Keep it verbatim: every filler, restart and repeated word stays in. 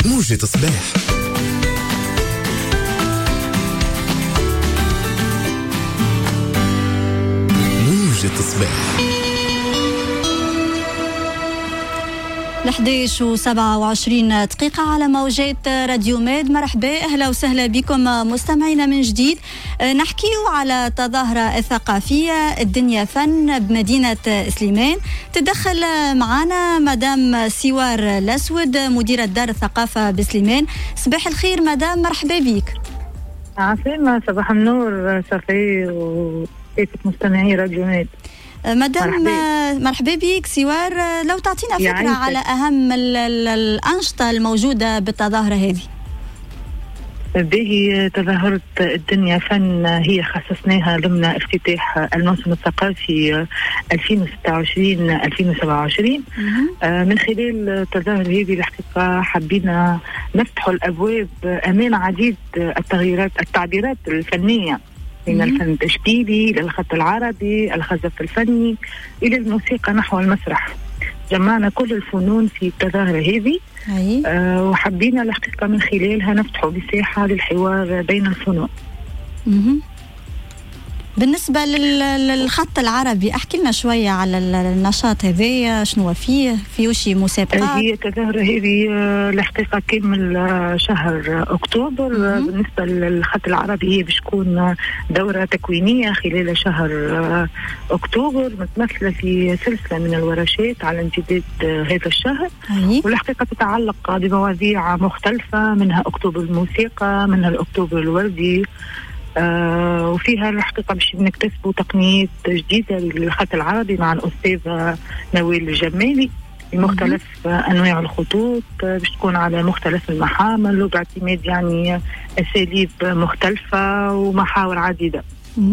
موجة صباح. موجة صباح. الحداش وسبعة وعشرين دقيقة على موجات راديو ماد. مرحبا، أهلا وسهلا بكم مستمعينا من جديد. نحكيو على التظاهرة الثقافية الدنيا فن بمدينة سليمان. تدخل معنا مدام سوار الأسود مديرة دار الثقافة بسليمان. صباح الخير مدام، مرحبا بك. عسلامة، صباح النور صفي وكيفك مستمعي راديو ماد. مدام مرحبا بك سوار، لو تعطينا فكرة على أهم الأنشطة الموجودة بالتظاهرة هذه. به تظاهرة الدنيا فن هي خصصناها ضمن افتتاح الموسم الثقافي ألفين وستة وعشرين ألفين وسبعة وعشرين. من خلال التظاهرة هذه الحقيقة حبينا نفتح الأبواب أمام عديد التغييرات التعبيرات الفنية، من الفن التشكيلي للخط العربي، الخزف الفني، إلى الموسيقى نحو المسرح. جمعنا كل الفنون في التظاهرة هذه، آه وحبينا الحقيقة من خلالها نفتح مساحة للحوار بين الفنون. مم. بالنسبة للخط العربي، احكي لنا شوية على النشاط هذايا، شنو فيه؟ فيه شي مسابقات؟ هي التظاهرة هذه الحقيقة كامل شهر أكتوبر. مم. بالنسبة للخط العربي هي باش تكون دورة تكوينية خلال شهر أكتوبر، متمثلة في سلسلة من الورشات على امتداد هذا الشهر. أي. والحقيقة تتعلق بمواضيع مختلفة، منها أكتوبر الموسيقى، منها الأكتوبر الوردي، آه وفيها الحقيقة باش نكتسبوا تقنيات جديدة للخط العربي مع الأستاذة نوال الجمالي بمختلف أنواع الخطوط، باش تكون على مختلف المحامل وباعتماد يعني أساليب مختلفة ومحاور عديدة.